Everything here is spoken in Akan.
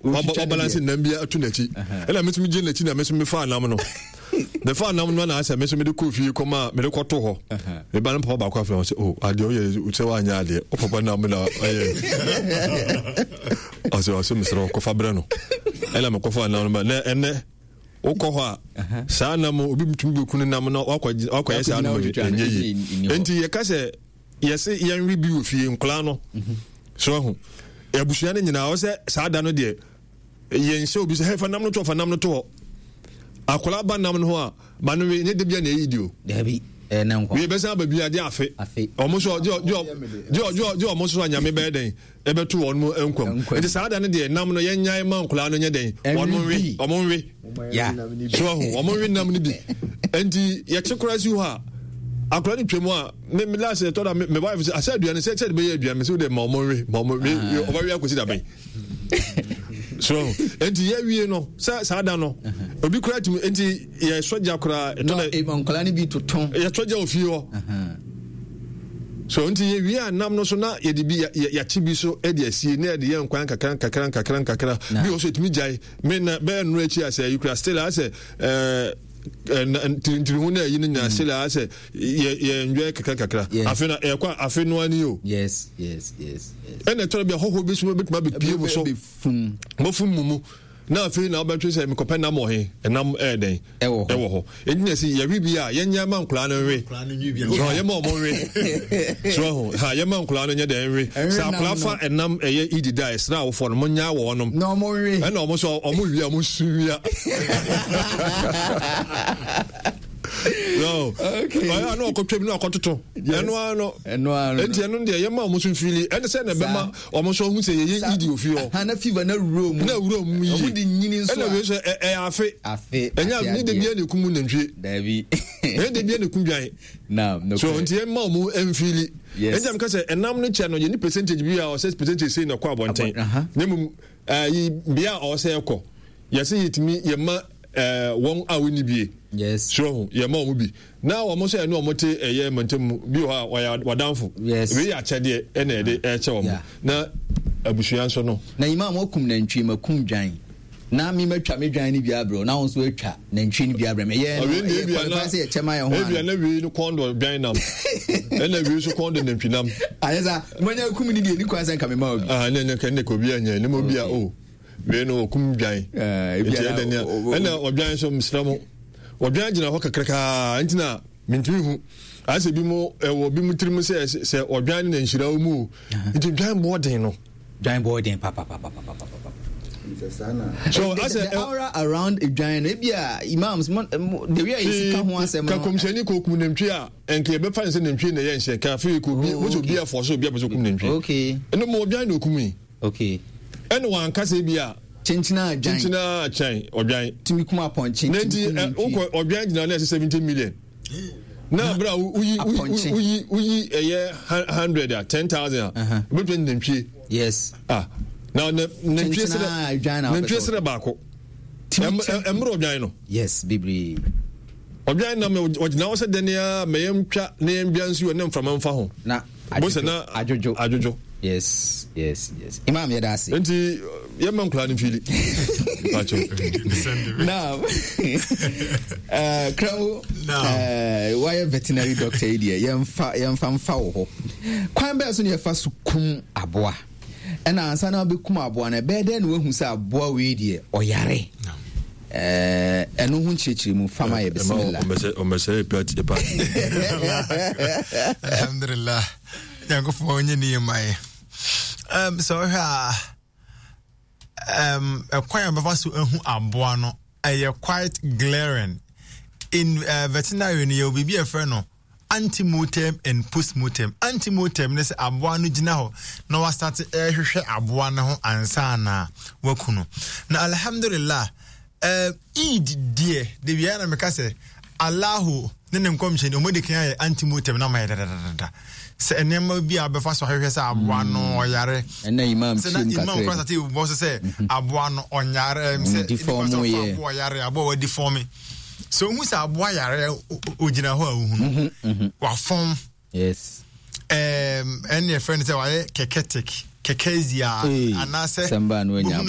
Wabalance nam bi ato n'akyi. Ɛna me nso megye n'akyi na me nso mefaa nam no. Mefaa nam no na asɛ me nso mede kɔɔ fie kɔma mede kɔto hɔ. Meba no papa baako afei sɛ oh adeɛ woyɛ sɛ woanyɛ adeɛ wo papa nam na ɔyɛ. Ɔsɛ ɔsɛ mesrɛ kɔfa brɛ no. Ɛna mekɔfaa nam no ba na ɛnɛ wokɔ hɔ a saa nam obi tumi bɛku no nam na wakɔyɛ saa nom ɛnyɛ yie. Enti yɛka sɛ yɛse yɛnwe bi wɔ fie nkwadaa no so ahu abusua no nyinaa ɔsɛ saa da no deɛ yɛnhyɛ obi sɛ hey fa nam no to fa nam no to hɔ akwadaa ba nam no ho a ma no we ne de bia na ɛyi di o dabi ɛnɛ nkwa wei bɛsan aba bi agye afe ɔmo so gye gye gye gye ɔmo so anyame bɛyɛ dɛn ɛbɛto wɔn mu nkwam nti saa da no deɛ nam no yɛnyae ma nkwadaa no nyɛ dɛn wɔn nwe wɔn nwe so ahu wɔn nwe nam no bi nti yɛkye koraa si hɔ a akwadaa no twam a me me last ɛtɔ da me wife sɛ asɛ aduane sɛ sɛ de bɛyɛ aduane sɛ de ma wɔn nwe ma wɔn nwe ah. ɔbɛwe akɔsi da bɛn so nti yɛwie no sɛ saa da no obi koraa tumi nti yɛsɔ gya koraa ɛtɔ da nkwadaa no bi toto yɛsɔ gya ofie hɔ so nti yɛwie a nam no so na yɛde bi yɛakye bi so de asie na yɛde yɛ nkwan kakra nkakra nkakra nkakra bi wɔ so ɛtumi gyae me na bɛyɛ nnora akyi asɛ ayi kura still asɛ ɛɛ ntiri ho na ayi no nyinaa still asɛ yɛ yɛ enjoy kakra kakra afe na ɛkɔ afe no ani o yes yes yes ɛna ɛtɔrɔ bi ahɔhoɔ bi so bɛtumi abɛpie mu so mɔfum mu mu na afei na wobɛtwe sɛ mekɔpɛ nam wɔ he ɛnam ɛyɛ dɛn ɛwɔ hɔ ɛnti na ɛsi yɛwe bi a yɛnyɛ ma nkoraa no nwe so yɛma ɔmo nwe so ho ha yɛma nkoraa no nyɛ dɛn nwe sɛ akoraa fa ɛnam ɛyɛ idi da ɛsrɛ awofoɔ no monya wɔ ɔnom ɛna ɔmo so ɔmo wia ɔmo su wia no ɔyɛ ano ɔkɔtwam na ɔkɔtoto ɛno ano ɛnti ɛno deɛ yɛma ɔmo so mfili ɛne sɛ na ɛbɛma wɔn nso ɔhu sɛ yɛyɛ idi ofie hɔ. Na fever na wura mu. Na wura mu yie. Wɔn de nyini nso a. Ɛna wei nso ɛyɛ afe. Afe. Ɛnyɛ ne de bia na ekum nantwie. Dabi. Ɛnyɛ de bia na ekum dwan. Na no. So nti yɛn ma wɔn mfili. Yes. Ɛnti amka sɛ ɛnam no kyɛ no yɛ ni percentage bi a ɔsɛ percentage sei na ɛkɔ abɔnten. Ne mu ɛyi bea a ɔsɛ ɛkɔ yɛsɛ yɛtumi yɛma ɛɛ wɔn a wɔnni bie. Yes. So yɛma wɔn bi. Na wɔn nso ɛne wɔn te ɛyɛ mantam mu bi wɔ hɔ a wɔyɛ wadanfo. Yes. Wei yɛ akyɛdeɛ ɛna yɛde ɛkyɛ wɔn. Yeah. Na abusua nso no. Na imam wakum nantwie makum dwan na me matwa me dwan no bi abrɛ na wo nso atwa nantwie no bi abrɛ me yɛ no ɛyɛ qualify sɛ yɛkyɛ ma yɛ ho ana ebia na wei no kɔn dɔ dwan nam ɛna wei nso kɔn dɔ nantwi nam ayɛ sa manya kum ni deɛ ni kwan sɛ nka me ma obi ah ne ne ne ka obi anya ne ma obi a o oh. Wei no ɔkum dwan nti ɛdɛ nea ɛna ɔdwan nso mesrɛ mo ɔdwan gyina hɔ kakrakaa nti na mentumi hu ayɛ sɛ bi mo ɛwɔ bi mo tirim sɛ sɛ ɔdwan ne na nhyira wɔ mu o nti dwan boɔ den no dwan boɔ den papapapapapa so the, asɛ the aura around dwan no ebi a imams the way a yɛsi ka ho asɛm no ka kɔmhyɛni kɔ kum nantwie a nka yɛbɛfa ne sɛ nantwie na ɛyɛ nhyɛ ka afei kɔ obi mo sɛ obi afɔ so obi apɛ sɛ okum nantwie ɛno mo ɔdwan na okum yi Okay. Ɛna wanka sɛ bi a. Kyenkyena adwan. Kyenkyena akyɛn ɔdwan. Tumi kum apɔnkye. Na nti wokɔ ɔdwan gyina na ɛsɛ 70 million. Na abira woyi woyi woyi ɛyɛ 100 a 10,000 a. Wobɛtumi nantwie. Yes. Ah. Na nantwie srɛ nantwie srɛ baako. Ɛmmerɛ ɔdwan no. Yes, bebree. Ɔdwan nam ɔgyina hɔ sɛ dɛn a mɛyɛ ntwa na yɛn dwa nsuo ne mframa mfa ho. Na adwodwo na adwodwo adwodwo. Yes yes yes. Imam yɛ da ase. Nti yɛ mma nkura no mfili. Now, Krawo, wayɛ veterinary doctor yi deɛ yɛmfa yɛmfa mfa wɔ hɔ. Kwan bɛɛ so na yɛfa so kum aboa. Ɛna ansa na wobɛkum aboa no ɛbɛyɛ dɛn na wahu sɛ aboa wei deɛ ɔyare. Ɛno ho nkyerɛkyerɛ mu fama yɛ bisimila. Ɔmɛsɛ epa epa. Alhamdulillah. Nyankopɔn ɔnyɛ ne yɛ ma yɛ. Sɛ ɔhwɛ a ɛkwan a bɛfa so ahu aboa no ɛyɛ quite glaring. In veterinary no yɛwɔ biribi a ɛfrɛ no antemortem and postmortem. Antemortem ne sɛ aboa no gyina hɔ na wasate ɛrehwehwɛ aboa no ho ansa na waku no. Na alhamdulillah, Eid deɛ, de wia na meka sɛ Allahu ne ne nkɔmhyɛni wɔn de kan ayɛ antemortem na ma yɛ dadadada sɛ nneɛma bi a bɛfa so ahwehwɛ sɛ aboa no ɔyare ɛna imam sɛ na imam kora sate bɔ so sɛ aboa no ɔnyare sɛ nipa sɛ ɔfa aboa ɔyare aboa wadi fɔme sɛ ohu sɛ aboa yare ogyina hɔ a ohu no mhm, mhm. wafɔn yes ɛne ɛfrɛ no sɛ wayɛ kɛkɛtek kɛkɛzia anaasɛ wohunu.